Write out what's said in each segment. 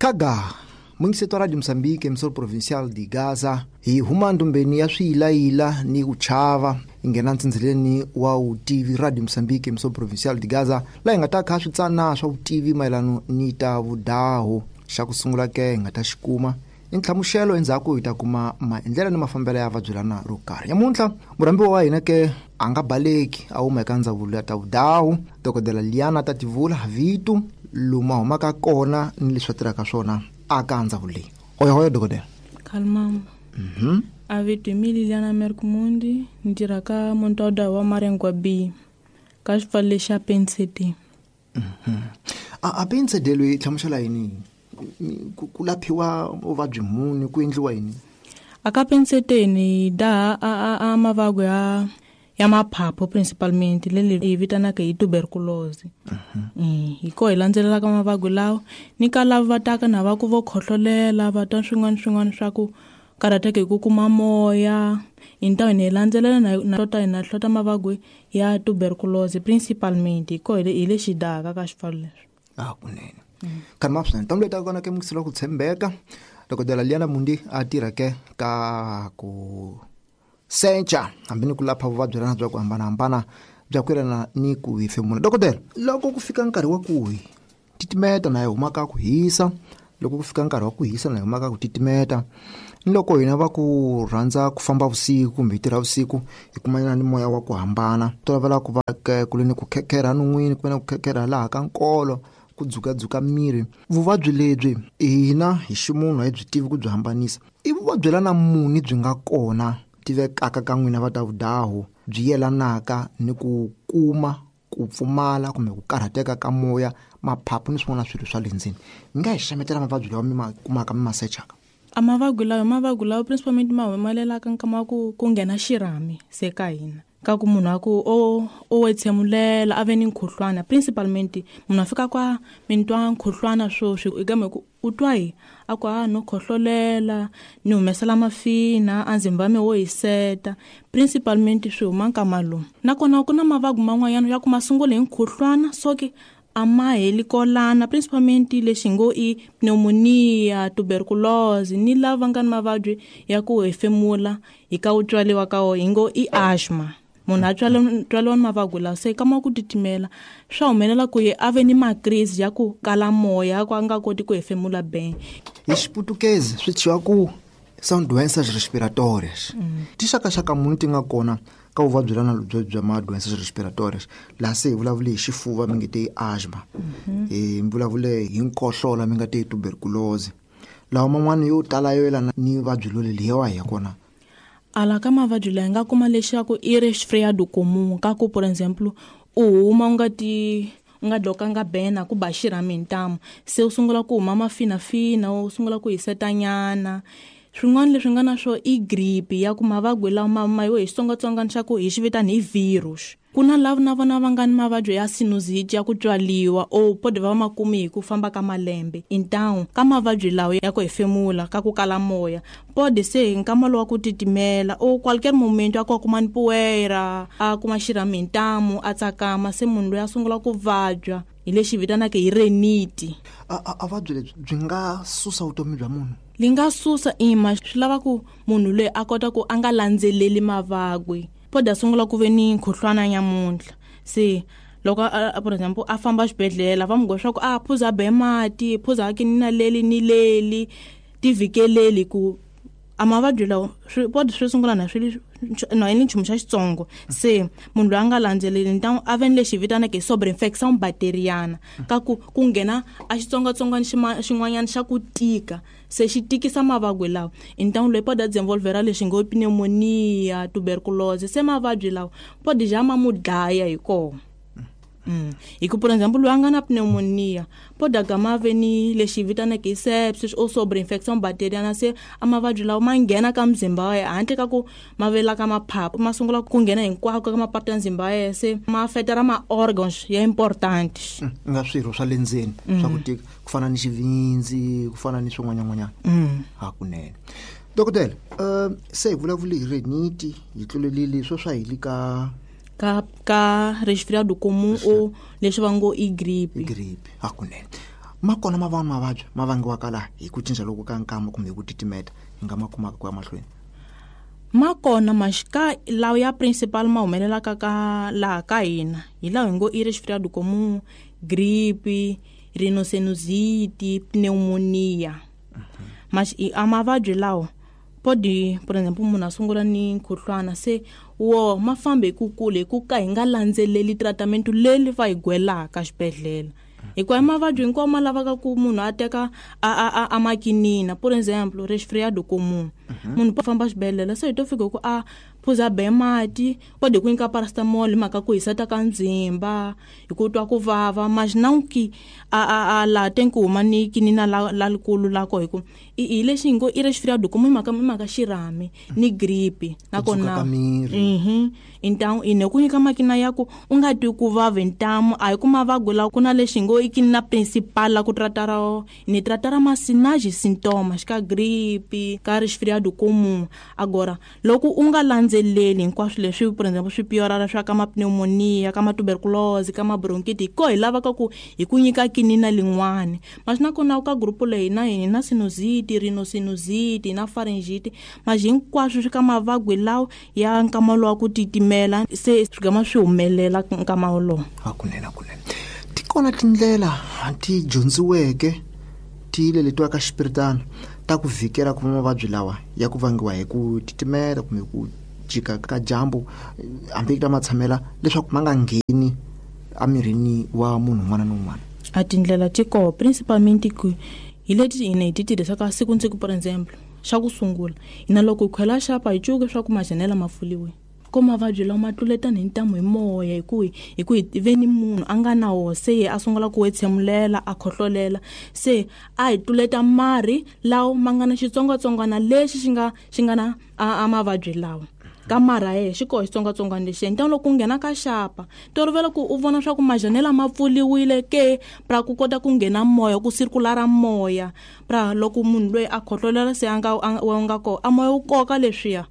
Kaga mungiseto wa Radio Mozambique, emissora provincial de Gaza, hi huma ndumbeni ya swiyilayila ni ku chava, hi nghena ntsindzeleni wa vutivi. Radio Mozambique, emissora provincial de Gaza, laha hi nga ta kha switsana swa vutivi mayelano ni ta vudahu. Xa ku sungula ke hi nga ta xi kuma i nhlamuxelo, endzhaku hi ta kuma maendlelo ni mafambelo ya vabyelana ro karhi. Nyamuntlha murhambiwa wa hina ke a nga baleki, a huma eka ndzawulo ya ta vudahu, Dokodela Liana Tativula Vitu, lomu a humaka kona ni leswi a tirhaka swona aka ndzawulo leyi. Oyahoya dokodela. Kalmamba. A vito hi mi Liliana Merkmundi, ni tirha ka Montauda wa Marengwa B ka xipfalo lexi xa Pensete. A Pensete loyi hlamusela yini? Ku laphiwa vuvabyi muni, ku endliwa yini? A ka Pensete ni daha a mavabyi ya maphaphu principalmente, leli hi vitanaka hi tuberculosis. Hi ko hi landzelelaka mavabyi lawa ni ka lava va taka na va ku vo khohlolela, va twa swin'wana swin'wana swa ku karhateka hi ku kuma moya. Hi ntamu hi landzelela na hlota, hi na hlota mavabyi ya tuberculosis principalmente, hi ko hi lexi dahaka ka xipfalo leswi. A kunene. Kani ma swinene. Ntamu leyi taka kona ke mungiselo ku tshembeka. Dokodela Liana Mundi a tirha ke ka ku secha hambi ni ku lapha vuvabyi lana bya ku hambanahambana bya ku yelana ni ku hefemula. Dokodela, loko ku fika nkarhi wa ku hi titimeta na hi huma ka ku hisa, loko ku fika nkarhi wa ku hisa na hi huma ka ku titimeta, ni loko hina va ku rhandza ku famba vusiku kumbe hi tirha vusiku, hi kumanyana ni moya wa ku hambana, tolovela ku va ke kule ni ku khekherha non'wini, kumbe na ku khekherha laha ka nkolo, ku dzukadzuka miri. Vuvabyi lebyi hina hi ximunhu a hi byi tivi ku byi hambanisa. I vuvabyi lana muni byi nga kona tivekaka ka n'wina va ta vudahu, byi yelanaka ni ku kuma ku pfumala kumbe ku karhateka ka moya, maphaphu ni swin'wana swilo swa le ndzeni? Mi nga hi xametela mavabyi lawa mi ma kumaka mi ma sechaka? A mavabyi lawa, mavabyi lawa principalmente ma humelelaka nkama wa ku nghena xirhami se ka hina, ka ku munhu a ku o wetshemulela, a ve ni nkhuhlwana. Principalmente munhu a fika kwa mi twa nkhuhlwana swoswi, i kambe ku u twa hi a ku a no khohlolela, ni humesela mafina, a ndzimba mi wo hiseta. Principalmente swi huma nkama lowu. Nakona ku na mavabyi man'wanyana ya ku ma sungula hi nkhuhlwana, so ke a ma heli kolana, principalmente lexi ngo i pneumonia, tuberculosis, ni lava nga ni mavabyi ya ku hefemula hi ka u tswaliwa ka wo, hi ngo i asthma. Munhu a tswaliwa ni mavabyi lawa, se kama ku titimela swa humelela ku ye a ve ni makrisi ya ku kala moya, ku a nga koti ku hefemula beng. Hi Xiputukezi swi thyiwa ku são doenças respiratórias. Tixakaxaka muni ti nga kona ka vuvabyi lana bya ma doenças respiratórias? Laha se hi vulavule hi xifuva, mi nge te i asthma. Hi vulavule hi nkohlola, mi nga te i tuberculosis. Lawa man'wana yo tala yo yelana ni vuvabyi loleli hi wahi ya kona? Ala ka mavabyi lawa hi nga kuma leswaku i resfriado comum, ka ku por exemple u huma u nga ti u nga dlokanga bena ku ba xirhami hi ntamu, se u sungula ku huma mafinafina, u sungula ku hisetanyana. Swin'wana leswi nga na swo i gripe, ya ku mavabyi lawa ma yo hi xitsongwatsongwana xa ku hi xi vitana hi virus. Ku na lava na vona va nga ni mavabyi ya sinusite ya ku tswaliwa, o pode va ma kumi hi ku famba ka malembe. Intawu ka mavabyi lawa ya ku hefemula, ka ku kala moya, pode se hi nkama lowa ku titimela o qualquer momento a ku a kuma ni poeira, a kuma xirhami hi ntamu, a tsakama, se munhu loyi a sungula ku vabya hi lexi vitanaka hi reniti. A vuvabyi lebyi byi nga susa vutomi bya munhu? Li nga susa ima, swi lava ku munhu loyi a kota ku a nga landzeleli mavabyi. Pode a sungula ku ve ni nkhuhlwana nyamuntlha, se loko por exemple a famba xibedhlele, va n'wi leswaku a phuza be mati, phuza ki ni na leli ni leli, tivikeleli ku a mavabyi lawa swi pode swi sungula na swi na ni nchumu xa xitsongo. Se munhu loyi a nga landzeleli ntamu a ve ni lexi vitanaka hi sobreinfection bacteriana, ka ku nghena a xitsongwatsongwana xin'wanyana xa ku tika, se xi tikisa mavabyi lawa. I ntamu loyi pode a dzinvolvera lexi ngo pneumonia, tuberculosis, se mavabyi lawa pode ja ma mu dlaya hi kona. Hi ku por exemple loyi a nga na pneumonia pode a gama ve ni lexi vitanaka hi sepsis o sobreinfection bacteriana, se a mavabyi lawa ma nghena ka muzimba wa yena handle ka ku ma vela ka maphaphu, ma sungula ku nghena hinkwako ka mapatu ya muzimba wa yena, se ma affecta ma organs ya important. Nga swirho swa le ndzeni swa ku tika, ku fana ni xivindzi, ku fana ni swin'wanyan'wanyana. Hakunene. Dokodela, se hi vulavule hi reniti, hi tlulelile swo swa hi le ka Ka resfriado comum o leswi va ngo i gripe. Gripe, hakunene. Ma kona ma vanhu mavabyi ma vangiwaka laha hi ku cinca loku ka nkama kumbe hi ku titimeta hi nga ma kumaka ku ya mahlweni? Ma kona maxika lawa ya principal ma humelelaka ka laha ka hina hi lawa hi ngo i resfriado comum, gripe, rhinosinusite, pneumonia. A mavabyi lawa podi, por exemple, munhu a sungula ni nkhuhlwana, se wo ma fambe hi ku kula hi ku ka hi nga landzeleli tratamentu leri va hi gwelaka xibedhlele, hikuva i mavabyi hinkwawo ma lavaka ku munhu a teka a makinina. Por exemple, resfriado comum, munhu a famba xibedhlele, se hi to fika ku a phuza be mati, podi ku nyika paracetamol hi mhaka ku hiseta ka ndzimba, hi ku twa ku vava maxinawuki a laha teng ku huma ni kinina la likulu la ko, hi ku hi lexi hi ngo i resfriado comum, hi mhaka xirhami ni gripe nakona. Intamu ine ku nyika makina ya ku u nga twi ku vava ntamu, a hi ku mavabyi lawa ku na lexi ngo i kinina principal la ku tratara ni tratara masinaji sintoma xika gripe ka resfriado comum. Agora loko u nga landzeleli hinkwaswo leswi, por exemple, swi piorara swa ka ma pneumonia, ka ma tuberculose, ka ma bronchite, ko hi lavaka ku hi ku nyika kinina lin'wani. Mas nakona ka grupo leyi na hina na sinusite, rhinosinusite na pharyngite, mas hinkwaswo swi ka mavabyi lawa ya nkama lowa ku titimela, se swi gama swi humelela nkama wolowo. Hakunene, hakunene ti kona tindlela ti dyondziweke ti leletiwaka xipiritano ta ku vhikela ku va mavabyi lawa ya ku vangiwa hi ku titimela kumbe ku jika ka dyambu, hambi ta matshamela, leswaku ma nga ngheni emirini wa munhu un'wana na un'wana? A tindlela ti koho, principalmente ku hi leti hina hi ti tirhisaka siku ni siku. Por exemple, xa ku sungula, hina loko hi khwela xapa hi cuke swa ku majanela ma pfuliwe, ko mavabyi lawa ma tluletana hi ntamu hi moya, hi ku hi ve ni munhu a nga na wo, se ye a sungula ku wetshemulela, a khohlolela, se a hi tluleta marhi lawa ma nga na xitsongwatsongwana lexi xi nga na a mavabyi lawa ka marha ye xi koho xitsongwatsongwana lexi. Ntamu loko u nghena ka xapa, tolovela ku u vona swa ku majanela ma pfuliwile ke pra ku kota ku nghena moya, ku sirkulara moya, pra loko munhu loyi a khohlolela se a nga ko a moya wu koka leswiya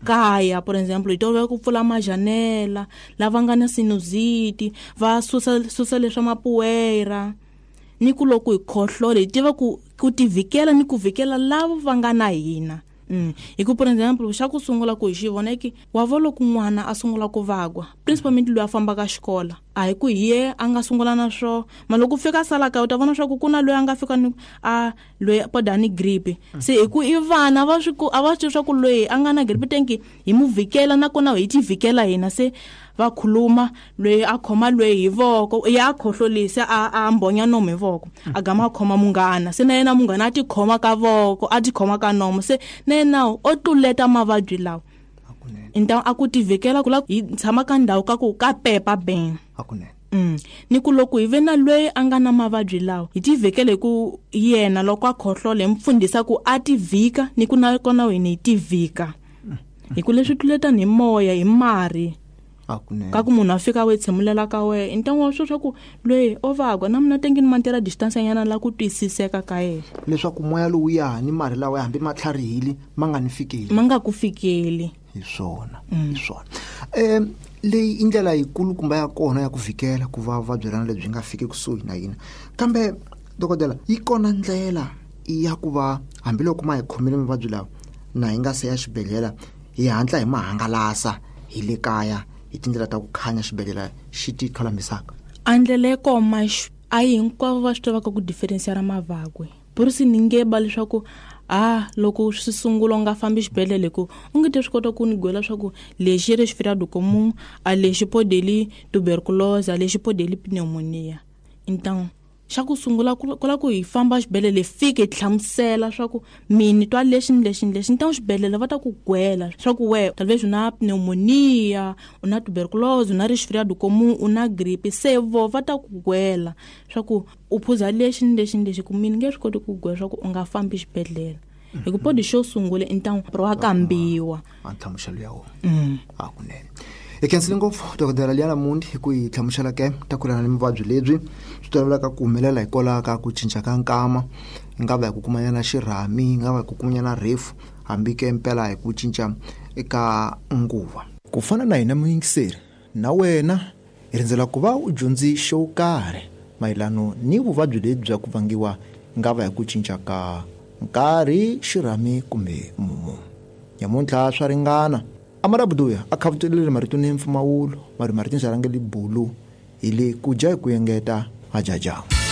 kaya. Por exemple, hi tolovela ku pfula majanela, lava nga na sinusite va susa leswa mapuwera, ni ku loko hi khohlola hi tiva ku tivhikela ni ku vhikela lava va nga na hina. Hi ku, por exemple, xa ku sungula ku hi xi vona ki wa vo loko n'wana a sungula ku vagwa, principalmente loyi a fambaka xikola, a hi ku hi ye a nga sungula na swo ma loko fika sala kaya u ta vona swa ku ku na loyi a nga fika ni a loyi poda ni gripe, se hi ku i vana va swi ku a va swi swa ku loyi a nga na gripe tenki hi mu vhikela nakona hi ti vhikela hina, se va khuluma loyi a khoma loyi hi voko, ya khohlolisa a mbonya nomu hi voko, a gama a khoma munghana, se na yena munghana a ti khoma ka voko, a ti khoma ka nomu, se na yena o tluleta mavabyi lawa. Ntamu a ku tivhikela ku la hi tshama ka ndhawu ka ku ka pepa ben. Ni ku loko hi ve na loyi a nga na mavabyi lawa hi tivhikele ku yena loko a khohlola hi mfundhisa ku a tivhika, ni ku na kona hina hi tivhika, hi ku leswi tluletana hi moya hi marhi ka ku munhu a fika we tshemulela ka wehe ntangu wa swo swa ku loyi o vagwa na mina tengini mantela distance nyana la ku twisiseka ka yena, leswaku moya lowuya ni marhi lawa hambi ma tlharihile ma nga ni fikeli, ma nga ku fikeli. Hi swona, hi swona. Leyi i ndlela yikulu kumbe ya kona ya ku vhikela ku va vuvabyi rana lebyi nga fiki kusuhi na hina. Kambe dokodela, yi kona ndlela ya ku va hambiloko ma hi khomile mavabyi lawa na hi nga se ya xibedhlele, hi hatla hi ma hangalasa hi le kaya hi tindlela ta ku khanya xibedhlele xi ti tlholamisaka? A ndlela yi koma a hi hinkwavo va swi tivaka ku differenciara mavakwe. Burusi ni nge ba leswaku a loko swi sungula u nga fambi xibedhlele, ku u nge te swi kota ku ni gwela swa ku lexi resfriado comum, a lexi podeli tuberculose, a lexi podeli pneumonia. Então xa ku sungula ku la ku hi famba xibedhlele fike hi hlamusela swa ku mini twa lexi ni lexi ni lexi, ntangu xibedhlele va ta ku gwela swa ku we talvez u na pneumonia, u na tuberculose, u na resfriado comum, u na gripe, se vo va ta ku gwela swa ku u phuza lexi ni lexi ni lexi, ku mini nge swi koti ku gwela swa ku u nga fambi xibedhlele. Hi ku podi xo sungula i ntangu wa kambiwa a nhlamuselo ya wona. Hakunene hi khensile ngopfu dokodela Liana Mundi hi ku hi hlamusela ke ta ku lana ni muvabyi lebyi swi tolovelaka ku humelela hikwalaho ka ku cinca ka nkama, yi nga va hi ku kumanyana xirhami, yi nga va hi ku kumanyana rhefu, hambi ke mpela hi ku cinca eka nguva. Ku fana na hina muyingiseri, na wena hi rindzela ku va u dyondzi xo karhi Mayelano ni vuvabyi lebyi bya ku vangiwa nga va hi ku cinca ka nkarhi, xirhami kumbe mumu. Nyamuntlha swa ringana. Amarabuduya a khavutelele marito ni mpfumawulo, mari marito rhangeli bulu hi le ku dya hi ku engeta hajaja.